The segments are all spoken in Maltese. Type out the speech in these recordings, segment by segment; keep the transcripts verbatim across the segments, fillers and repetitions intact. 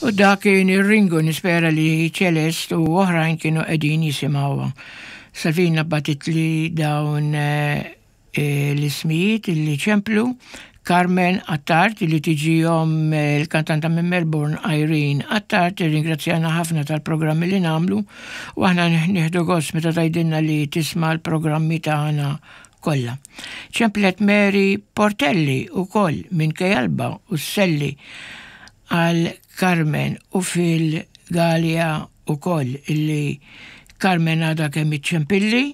U dak kien ir-Ringu, nispera li Celeste u oħrajn kienu qegħdin jisimgħuha. Salvina bagħtitli dawn eh, l-ismijiet li ċemplu: Carmen Attard, li tiġi omm il-kantanta minn Melbourne Irene Attard, ringrazzjana ħafna tal-programmi li nagħmlu u aħna nieħdu gost meta tgħidilna li tisma' l-programmi tagħna kollha. Ċemplet Mary Portelli ukoll minn Kejalba u sselli għal Carmen u Phil Galea ukoll, illi Carmen għadha kemm iċċempilli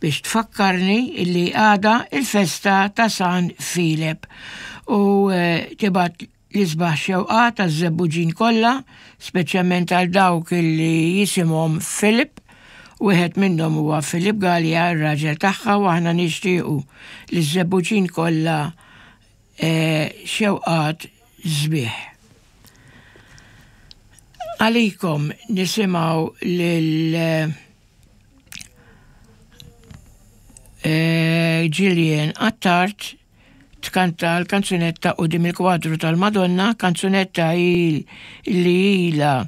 biex tfakkarni illi għada il-festa ta' San Filep u eh, tibgħat l-isbaħ xewqat għaż-Żebbuġin kollha, speċjalment għal dawk illi jisimhom Filip. Wieħed minnhom huwa Filip Galea, ir-raġel tagħha, u aħna nixtiequ li ż-Żebbuġin kollha eh, xewqat sbieħ. Għalikom nisimgħu lil eh, Gillian Attard tkanta l-kanzunetta Quddiem il-Kwadru tal-Madonna, kanzunetta il li ila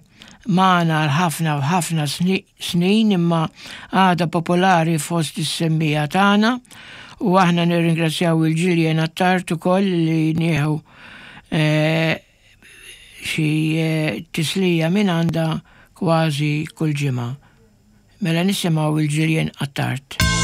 magħna l-ħafna u ħafna snin imma għada popolari fost is-semmiegħa tagħna, u aħna nirringrazzjaw il-Gillian Attard ukoll li nieħu eh, xi eh, tislija minn għandha kważi kull ġimgħa. Mela nisimgħu il-Gillian Attard.